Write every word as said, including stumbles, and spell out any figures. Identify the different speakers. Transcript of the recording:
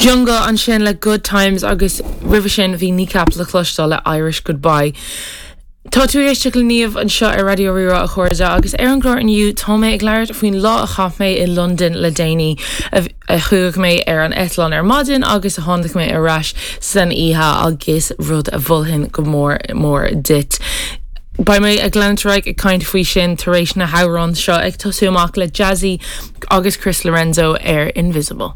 Speaker 1: Jungle ansin le Good Times agus roimhe sin bhí Kneecap le cloisteáil le Irish Goodbye. Tá tú ag éisteacht le Niamh anseo ar Raidió Rí-Rá a chairde agus ar an gclár inniu tá mé ag labhairt faoin lá a chaith mé i London le déanaí a chuaigh mé ar an eitleán ar maidin agus a tháinig mé ar ais san oíche agus rud a mholfainn go mór mór duit. Beidh mé ag leanúint ag caint faoi sin tar éis na hamhrán seo ag tosú amach le Jazzy agus Chris Lorenzo ar Invisible.